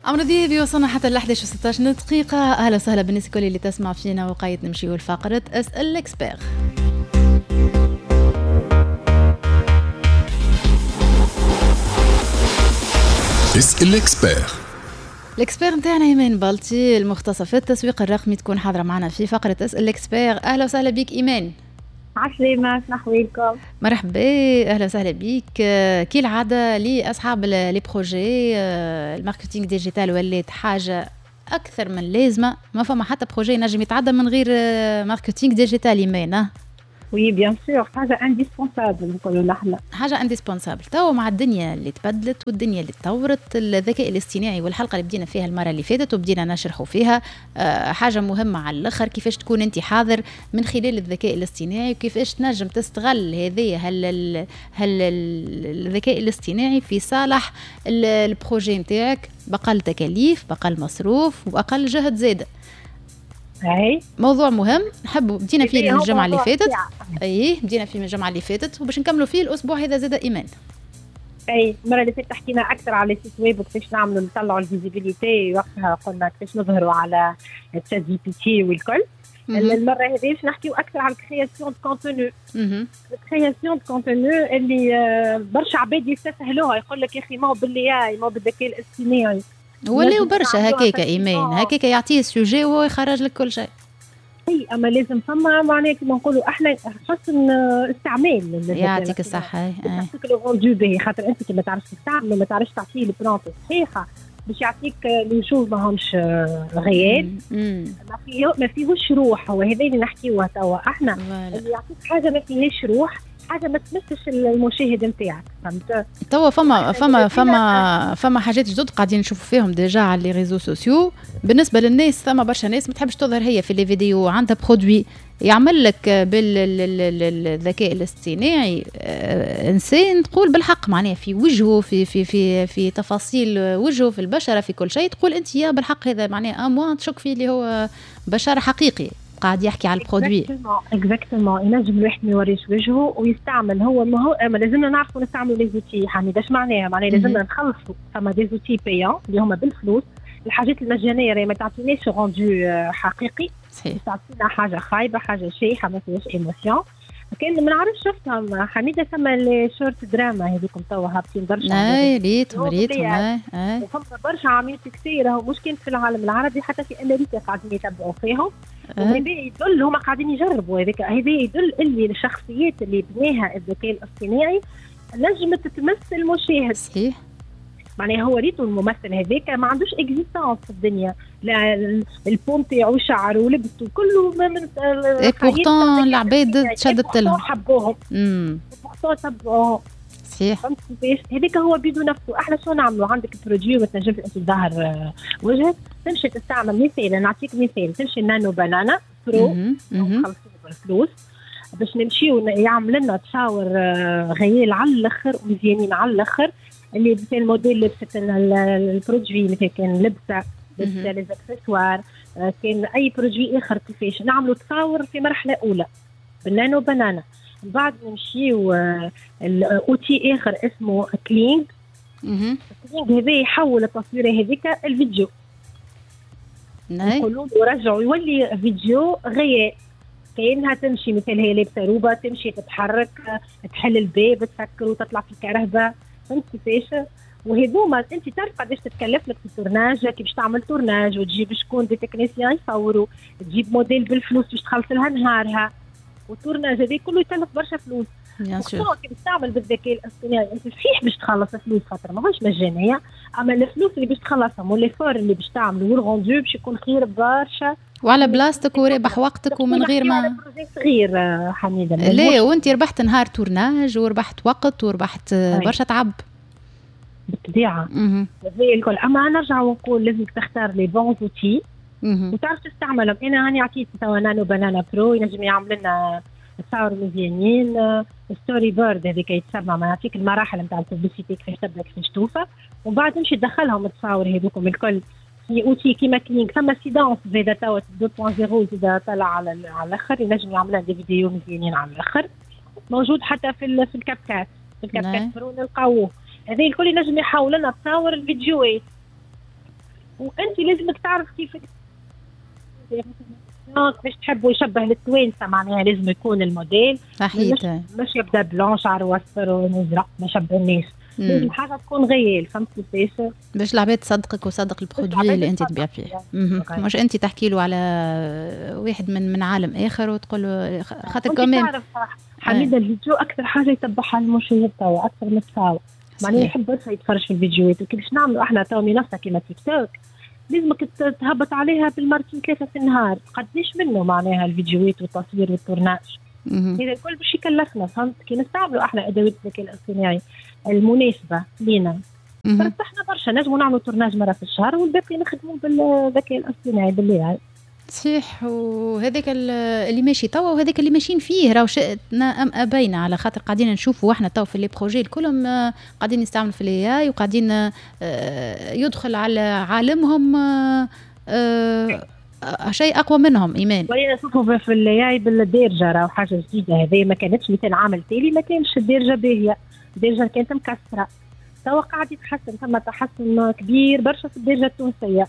عمرو دياب وصلنا حتى ل 11 و16 دقيقة. أهلا وسهلا بالناس الكل اللي تسمع فينا، وقايد نمشيو لفقرة اسأل l'expert. اسأل l'expert. l'expert نتاعنا ايمان بلطي المختصة في التسويق الرقمي تكون حاضرة معنا في فقرة اسأل l'expert. أهلا وسهلا بك ايمان. عسلامة، شنو أحوالكم؟ مرحبا، أهلا وسهلا بك. كي العادة لأصحاب les projets، ال marketing digital ولات حاجة أكثر من لازمة، ما فما حتى projet نجم يتعدى من غير marketing digital إيمان. oui bien sûr، حاجة indispensable نقولوا نحن. حاجة indispensable توا مع الدنيا اللي تبدلت والدنيا اللي تطورت، الذكاء الاصطناعي والحلقة اللي بدينا فيها المرة اللي فاتت وبدينا نشرحوا فيها حاجة مهمة على الاخر، كيفاش تكون انت حاضر من خلال الذكاء الاصطناعي وكيفاش تنجم تستغل هذه هل الذكاء الاصطناعي في صالح ال projet نتاعك باقل تكاليف، باقل مصروف، واقل جهد زاده. اي موضوع مهم نحب بدينا فيه من الجمعة اللي فاتت. اي بدينا فيه من الجمعة اللي فاتت وباش نكملوا فيه الاسبوع هذا زاد ايمان. اي المرة اللي فاتت حكينا اكثر على site web وكيفاش نعملوا نطلعوا ال visibilité، وقتها قلنا كيفاش نظهروا على ChatGPT والكل. المرة هذه باش نحكيو اكثر على ال création de contenu. ال création de contenu اللي برشا عباد يستسهلوها، يقول لك يا اخي ما هو بال AI، ما هو بالذكاء الاصطناعي. ولاو برشا هكاكا ايمان، هكاكا يعطيه ال sujet وهو يخرج لك كل شيء. اي اما لازم فما معناها كيما نقولوا احنا حسن استعمال. يعطيك الصحة. يعطيك le rendu باهي، خاطر انت كي ما تعرفش تستعمل ما تعرفش تعطيه ال prompt الصحيحة باش يعطيك les choses ماهمش réels، ما فيهوش روح. هو هذا اللي نحكيوه توا احنا، اللي يعطيك حاجة ما فيهاش روح، حاجة ما تمسش المشاهد نتاعك، فهمت؟ توا فما فما فما فما حاجات جدد قاعدين نشوفوا فيهم déjà على les réseaux sociaux. بالنسبة للناس ثما برشا ناس ما تحبش تظهر هي في les vidéos، عندها produit يعمل لك بالذكاء الاصطناعي انسان تقول بالحق معناها في وجهه، في في في في تفاصيل وجهه، في البشرة، في كل شيء، تقول انت يا بالحق هذا معناها à moins تشك فيه اللي هو بشر حقيقي قاعد يحكي على ال produit. exactement، ينجم الواحد ما يوريش وجهه ويستعمل هو، ما هو اما لازمنا نعرفوا نستعملوا les outils. حميد اش معناها؟ معناها لازمنا نخلصوا، فما des outils payants اللي هما بالفلوس. الحاجات المجانية راهي ما تعطيناش rendu حقيقي، صحيح، تعطينا حاجة خايبة، حاجة شايحه ما فيهاش émotion. كان ما نعرفش شفتهم حميده، ثم les short drama هذوكم توا هابطين برشا. اي ريتهم ريتهم. اي وفما برشا عاملين كثير، راهو مش كان في العالم العربي، حتى في امريكا قاعدين يتبعوا فيهم. وهذا يدل هما قاعدين يجربوا هذاك، هذا يدل اللي الشخصيات اللي بناها الذكاء الاصطناعي نجمت تمس المشاهد. صحيح، معناها هو ريتو الممثل هذاك ما عندوش existence في الدنيا، لا ال peau تاعو شعره ولبسه كله من et pourtant العباد تشدت لهم، حبوهم، pourtant تبعوهم. صحيح، فهمت كيفاش؟ هذاك هو بيدو نفسه. احنا شو نعملوا؟ عندك produit ما تنجمش انت تظهر وجهك، تمشي تستعمل مثال، نعطيك مثال، تمشي Nano Banana Pro خلصوا بالفلوس باش نمشيو يعمل لنا تصاور réels على الاخر ومزيانين على الاخر، اللي مثل الموديل لبست ال produit، مثل كان لبسه les accessoires، كان اي produit اخر، كيفاش نعملوا تصاور في مرحلة اولى بال Nano Banana. من بعد نمشيو outil اخر اسمه Kling. Kling هذا يحول التصويره هذيك الفيديو، نقولوا له رجعوا يولي فيديو réel، كأنها تمشي، مثل هي لابسه روبه تمشي تتحرك، تحل الباب، تسكر وتطلع في الكرهبه، فهمت كيفاش؟ وهذوما انت تعرف قداش تتكلف لك في ال tournage، كي باش تعمل tournage وتجيب شكون des techniciens يصوروا، تجيب موديل بالفلوس باش تخلص لها نهارها، وال tournage هذا كله يكلف برشا فلوس. كي باش تعمل بالذكاء الاصطناعي انت صحيح باش تخلص فلوس خاطر ماهوش مجانية، اما الفلوس اللي باش تخلصهم و l'effort اللي باش تعمله وال rendu باش يكون خير برشا، وعلى بلاصتك ورابح وقتك ومن غير ما صغير حميده. لا وانت ربحت نهار tournage وربحت وقت وربحت برشا تعب بالطبيعة هذا الكل. اما نرجع ونقول لازمك تختار les bons outils وتعرف تستعملهم. انا هاني عطيت توا Nano Banana Pro ينجم يعمل لنا تصاور مزيانين، storyboard هذيك يتسمى، ما يعطيك المراحل نتاع ال publicité كيفاش تبدا كيفاش توفى، ومن بعد تمشي تدخلهم التصاور هذوكم الكل في outil كيما Kling. ثم Seedance زاده توا 2.0 زاده طلع على الاخر، ينجم يعمل des vidéos مزيانين على الاخر، موجود حتى في ال CapCut، في ال CapCut Pro نلقاوه. هذا الكل ينجم يحول لنا تصاور الفيديوهات. وانت لازمك تعرف كيف باش تحبوا يشبه للتوانسه، معناها لازم يكون الموديل صحيح، مش يبدا blanc شعره اصفر وازرق ما شبهناش، لازم حاجة تكون réelle، فهمت كيفاش؟ باش العباد تصدقك وتصدق ال produit اللي انت تبيع فيه، مش انت تحكي له على واحد من عالم اخر وتقول له خاطر كمان تعرف حميده الفيديو اكثر حاجة يتبعها المشاهد توا اكثر من التصاور، معناها يحب برشا يتفرج في الفيديوهات. وكيفاش نعملوا احنا توا منصة كيما تيك توك لازمك تهبط عليها بالمرتين 3 في النهار، قديش منه معناها الفيديوهات والتصوير وال tournage هذا الكل باش يكلفنا، فهمت؟ كي نستعملوا احنا ادوات الذكاء الاصطناعي المناسبة لينا فرتحنا برشا، نجموا نعملوا tournage مرة في الشهر والباقي نخدموا بالذكاء الاصطناعي باللي صحيح. وهذاك اللي ماشي توا وهذاك اللي ماشيين فيه راهو شئنا ام ابينا، على خاطر قاعدين نشوفوا احنا توا في les projets كلهم قاعدين يستعملوا في ال AI وقاعدين يدخل على عالمهم شيء اقوى منهم. ايمان ولينا نشوفوا في ال AI بالدارجة، راهو حاجة جديدة هذه ما كانتش، مثال عام التالي ما كانش الدارجة باهيه، الدارجة كانت مكسرة، توا قاعد يتحسن، ثم تحسن كبير برشا في الدارجة التونسية.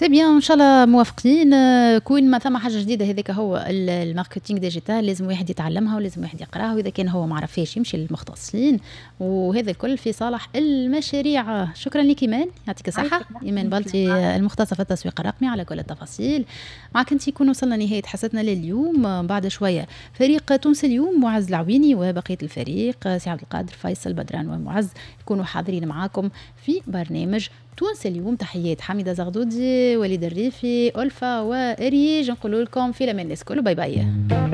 c'est bien، ان شاء الله موافقين. كون ما ثم حاجة جديدة هذاك هو ال marketing digital، لازم واحد يتعلمها ولازم واحد يقراها، واذا كان هو ما عرفهاش يمشي للمختصين، وهذا الكل في صالح المشاريع. شكرا لك ايمان، يعطيك الصحة. ايمان بلطي المختصة في التسويق الرقمي على كل التفاصيل معك انت. يكون وصلنا نهاية حصتنا لليوم. بعد شوية فريق تونس اليوم معز العويني وبقية الفريق سي عبد القادر فيصل بدران ومعز يكونوا حاضرين معاكم في برنامج تونس اليوم. تحيات حميدة زغدودي، وليد الريفي، ألفا وإريج. نقول لكم في الأمان الناس كله، bye bye.